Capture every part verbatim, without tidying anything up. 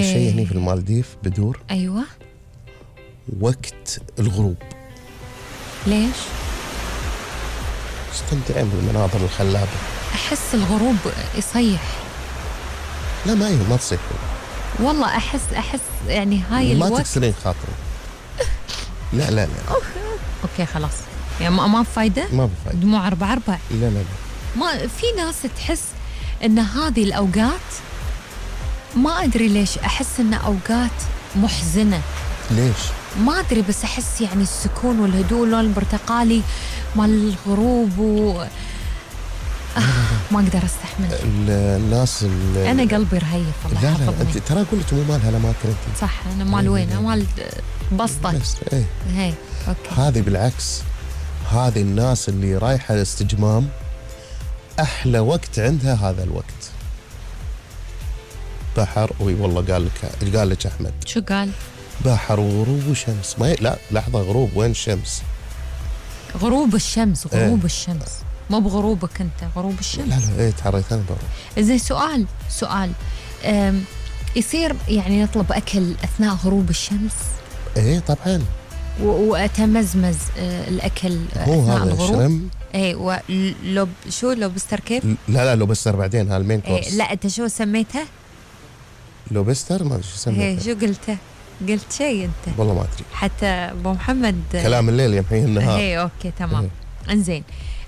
أحلى شيء هني في المالديف بدور أيوة وقت الغروب. ليش؟ استمتعين بالمناظر الخلابة. أحس الغروب يصيح. لا ما هي ما تصيح والله أحس أحس يعني هاي ما الوقت تكسرين خاطري. لا لا لا أوكي خلاص يعني ما ما بفايدة. ما بفايدة. دموع أربع أربع. لا لا لا ما في ناس تحس إن هذه الأوقات ما أدري ليش أحس إن أوقات محزنة. ليش؟ ما أدري بس أحس يعني السكون والهدوء اللون البرتقالي مال الغروب و آه ما أقدر أستحمل. الناس أنا قلبي رهيف الله لا يحفظني. لا ترى قلت مو مال هالأماكن أنت. صح أنا مال وين؟ مال بسطة. إيه. هي أوكي. هذه بالعكس هذه الناس اللي رايحة الاستجمام أحلى وقت عندها هذا الوقت. بحر وي والله قال لك قال لك أحمد. شو قال؟ بحر وغروب وشمس. ما ي... لا لحظة غروب وين الشمس؟ غروب الشمس غروب ايه. الشمس مو بغروبك أنت غروب الشمس. لا لا ايه تحريت أنا بروح. زين سؤال سؤال يصير يعني نطلب أكل أثناء غروب الشمس؟ ايه طبعا. وأتمزمز الأكل هو أثناء هذا الغروب. شرم. ايه ولو شو لوبستر كيف؟ لا لا لوبستر بعدين هالمين كورس. إيه لا أنت شو سميتها؟ لوبستر ما ادري شو سميتها. ايه شو قلته؟ قلت شيء أنت والله ما أدري. حتى أبو محمد كلام الليل يمحي النهار. ايه أوكي تمام. إيه. إنزين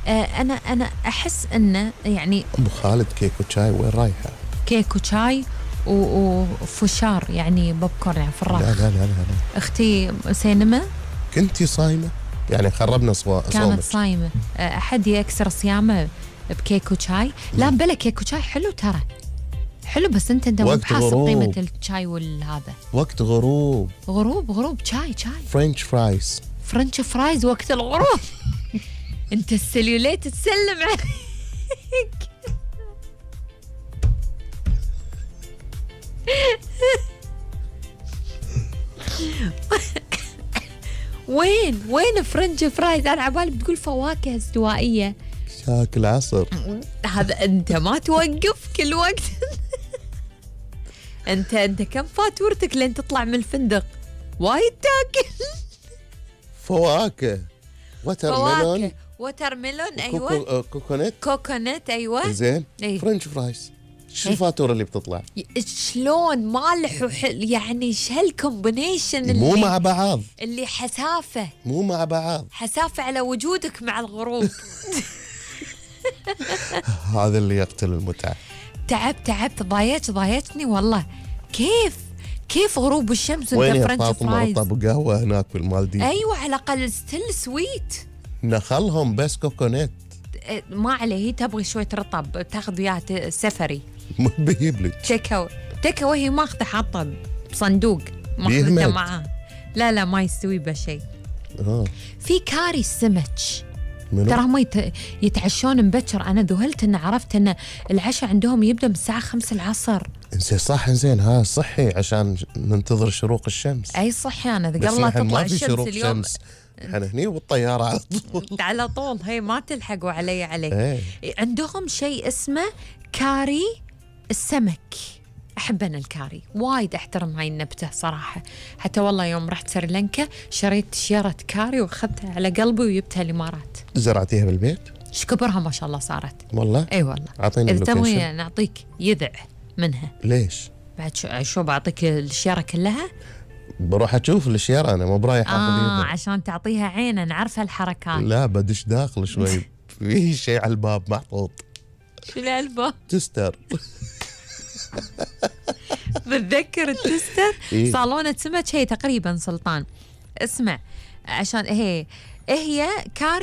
آه أنا أنا أحس إنه يعني أبو خالد كيك وشاي وين رايحة؟ كيك وشاي وفشار يعني بوب كورن يعني فراخ. لا لا لا لا, لا. أختي سينما. كنتي صايمة؟ يعني خربنا صوا كانت صومك. صايمة. أحد يكسر صيامه بكيك وشاي؟ لا بلا كيك وشاي حلو ترى حلو بس أنت أنت مو بحاسب قيمة الشاي والهذا. وقت غروب. غروب غروب شاي شاي. فرنش فرايز. فرنش فرايز وقت الغروب. أنت السليوليت تسلم عليك. وين وين فرنش فرايز؟ أنا عبالي بتقول فواكه استوائية. شاكل عصر. هذا أنت ما توقف كل وقت. أنت أنت كم فاتورتك لين تطلع من الفندق؟ وايد تاكل. فواكه. وتر ميلون. وتر ميلون أيوة. كوكونات. كوكونات أيوة. زين. أيه. فرنش فرايز. شو الفاتورة اللي بتطلع؟ شلون مالح وحل يعني ايش هالكومبينيشن اللي مو مع بعض اللي حسافة مو مع بعض حسافة على وجودك مع الغروب. هذا اللي يقتل المتعة. تعبت تعبت ضايجت ضايجتني والله. كيف كيف غروب الشمس وانت فرنش فرايز؟ طب قهوة هناك بالمالديف. ايوه على الاقل ستيل سويت. نخلهم بس كوكونات. ما عليه هي تبغي شوية رطب تاخذ وياها سفري. ما بيجيب لك. تيك تيك وهي ماخذه حاطه بصندوق ماخذته معاه. لا لا ما يستوي بشيء. آه. في كاري السمك ترى هم يت... يتعشون مبكر. انا ذهلت ان عرفت ان العشاء عندهم يبدا من الساعه خمسة العصر. انزين صح انزين ها صحي عشان ننتظر شروق الشمس. اي صحي انا قبل لا تطلع الشمس اليوم. شمس. احنا هني والطياره على طول. على طول هي ما تلحقوا علي عليك. ايه. عندهم شيء اسمه كاري السمك. أحب أنا الكاري وايد أحترم هاي النبتة صراحة. حتى والله يوم رحت سريلانكا شريت شيرة كاري وأخذتها على قلبي وجبتها الإمارات. زرعتيها بالبيت؟ شكبرها ما شاء الله صارت. والله؟ أي والله. أعطيني إذا تبغي نعطيك يذع منها. ليش؟ بعد شو شو بعطيك الشيرة كلها؟ بروح أشوف الشيرة أنا مو برايح آخذ آه يذع. عشان تعطيها عين. أنا عارفة الحركات. لا بدش داخل شوي. في شيء على الباب محطوط. شو على الباب؟ تستر. بتذكر التستر؟ إيه؟ صالونة سمك هي تقريبا سلطان. اسمع عشان هي هي كاري